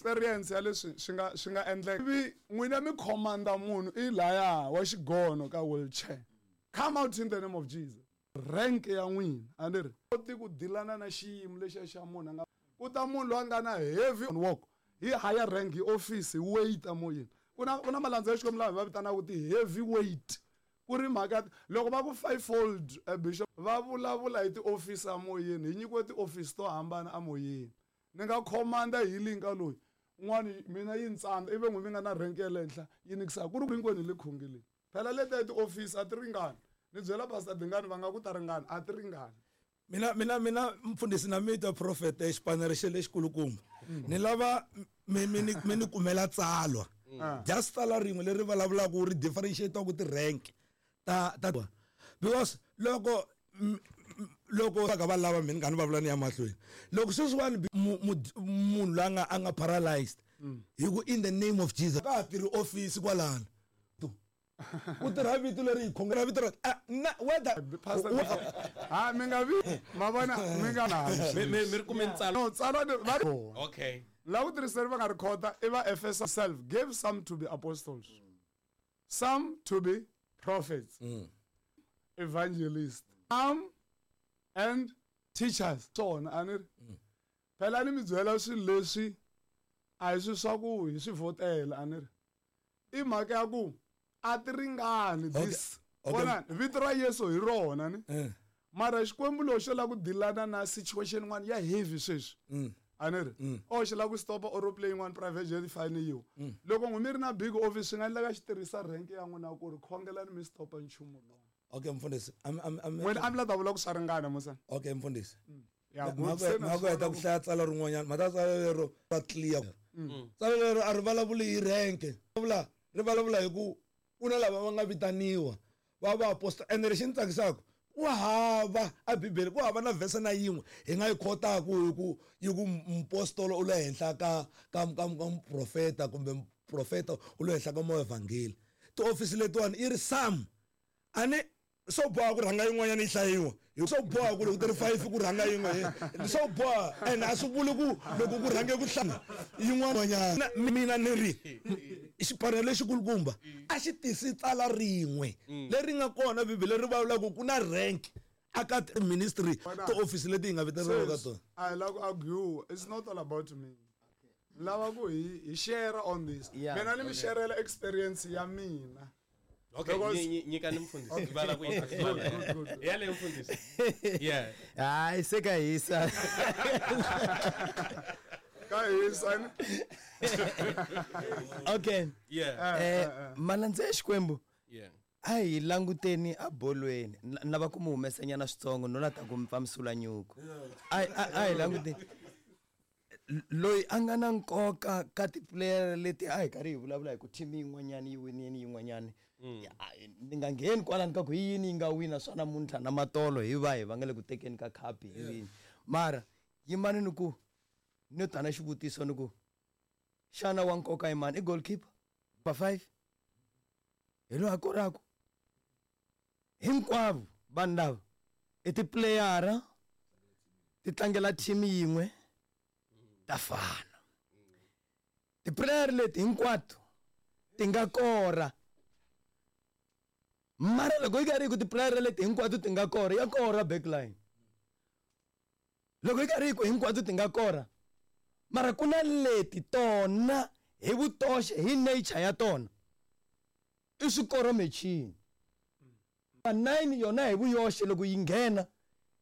Experience ya leswi swi nga endleka. Vi n'wina mi commanda munhu i laya wa xigono ka wheelchair. Come out in the name of Jesus. Rank ya n'wina a ni ri koti ku dilana na xiyimo lexiya xa munhu a nga ku ta munhu loyi a nga na heavy work hi higher rank, hi office, hi weight amoyeni. Ku na malandza ya Xikwembu lava hi va vitanaka ti-heavy weight, ku ri mhaka loko va ku fivefold, bishop, va vulavula hi tiofisi amoyeni. Hi nyikiwe tiofisi to hambana amoyeni. Ni nga commanda healing ka loyi un'wana, mina yi ni tsandza, ivi n'wi mi nga na rank ya le henhla yi nikisaka ku ri ku hinkwenu hi le khongeleni. Phela leti ya tiofisi a ti ringani. Ni byela Pastor Dingani, va nga ku ta ringana, a ti ringani. Mina mfundhisi na mita prophet, xipanere xe lexikulukumba, ni lava mi ni kumela tsalwa, just tsalwa rin'we leri vulavulaka ri differentiate ku ti-rank ta, because loko va ka va lava mina ni va vula ni ya mahlweni, loko sweswiwani munhu loyi a nga paralyzed hi ku "In the name of Jesus", ka ha tirhi office kwalano, ku tirha vito leri hi khongela vito ra na whether Pastor, ha mi nga vi ma vona mi nga na Mi ri kume ntsalo? No, tsalwa ni va La ku tirhiseri va nga ri khota i va Efesa. Self gave some to be apostles, some to be prophets, evangelists, some and teachers. Swona a ni ri phela ni mi byela swilo leswi a hi swi swa ku hi swi vhotela, a ni ri i mhaka ya ku a ti ringani. This vona vito ra Yesu hi rona ni mara Xikwembu lexi xo lava ku dilana na situation yin'wana ya heavy sweswi, a ni ri o xi lava ku stopa aeroplane yin'wana, private jet fine yiwa. Loko n'wi mi ri na big office, swi nga endleka xi tirhisa rank ya n'wina ku ri khongelani mi stopa nchumu lowu. Okay mfundhisi, am N'wina a mi la ta vula ku swa ringana musa. Okay mfundhisi. Ya, good. Se na Mhako heta ku hlaya tsalwa rin'wanyana, mhata tsalwa lero va clear. Tsalwa lero a ri vulavuli hi rank, vula ri vulavula hi ku ku na lava va nga vitaniwa va vaapostola. Ene lexi ni tsakisaka, ku hava a Bibele, ku hava na vhese na yin'we hi nga yi khotaku hi ku yi ku mupostolo u le henhla ka muprofeta kumbe muprofeta u le henhla ka muevhangeli. Tiofisi letiwani yi ri some, a ni swo boha ku rhanga yin'wanyana yi hlayiwa hi swo boha ku loko ti ri five ku rhanga yin'we, swo boha. And a swi vuli ku loko ku rhange ku hlaya yin'wana. Mina ni ri xipanelo lexikulukumba a xi tisi tsala rin'we leri nga kona Bibele ri vulavulaka ku na rank aka ministry, tiofisi leti hi nga vitaneriwa ka tona. A hi lava ku argue. It's not all about me. Lava ku hi share on this. Mina ni mi sharela experience ya mina. Okay. Nyikani mfundhisi, va lava ku yi Good, good, good. ya le mfundhisi, yeah. Hayi, se ka hisa. Ka hisa ni. Okay. Malandza ya Xikwembu, a hi languteni a bolweni. Lava ku mu humesanyana switsongo, no la ta ku mi pfamisula nyuku. A hi languteni loyi a nga na nkoka ka tiplayer leti a hi karhi hi vulavula hi ku team yin'wanyani yi winini yin'wanyani. Ni nga ngheni kwalani ka ku hi yini yi nga wina swa namuntlha na matolo, hi va hi va nga le ku tekeni ka khapi hi vini, mara yimani ni ku ni ta na xivutiso ni ku xana wa nkoka i mani? I goalkeeper ba 5 hi loyi a koraku. Hinkwavo vanhu lava i tipuleyara ti tlangela team yin'we, ta fana. Tiplayer leti hinkwato ti nga kora, mara loko yi karhi yi ku tiplayer leti hinkwato ti nga kora, ya kora backline. Loko yi karhi yi ku hinkwato ti nga kora, mara ku na leti tona hi vutoxe, hi nature ya tona i swikoro machine. 9 yona hi vuyoxe loko yi nghena,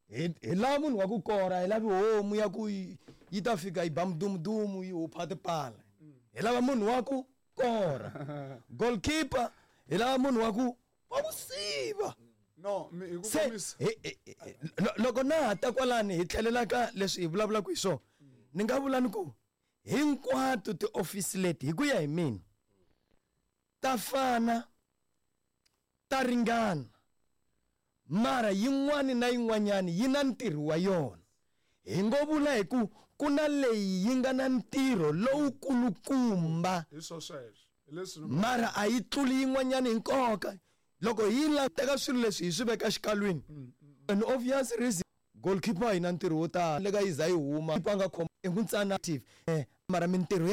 hi lava munhu wa ku kora, hi lavi homu ya ku yi ta fika yi ba mudumudumu yi hupha tipala. Hi lava munhu wa ku kora. Goalkeeper, hi lava munhu wa ku siva. No, mi hi ku Se komisa. Loko na ha ta kwalani, hi tlhelela ka leswi hi vulavulaka hi swona, ni nga vula ni ku hinkwato tiofisi leti, hi ku ya hi mina, ta fana, ta ringana, mara yin'wani na yin'wanyani yi na ntirho wa yona. Hi ngo vula hi ku ku na leyi yi nga na ntirho lowukulukumba. Hi swo sweswo, hi leswi Mara a yi tluli yin'wanyani hi nkoka. Loko hi la teka swilo leswi hi swi veka xikalwini, an obvious reason, goalkeeper yi na ntirho wo tala le ka yi za yi huma, a nga khoma i ku ntsana active, mara mintirho ya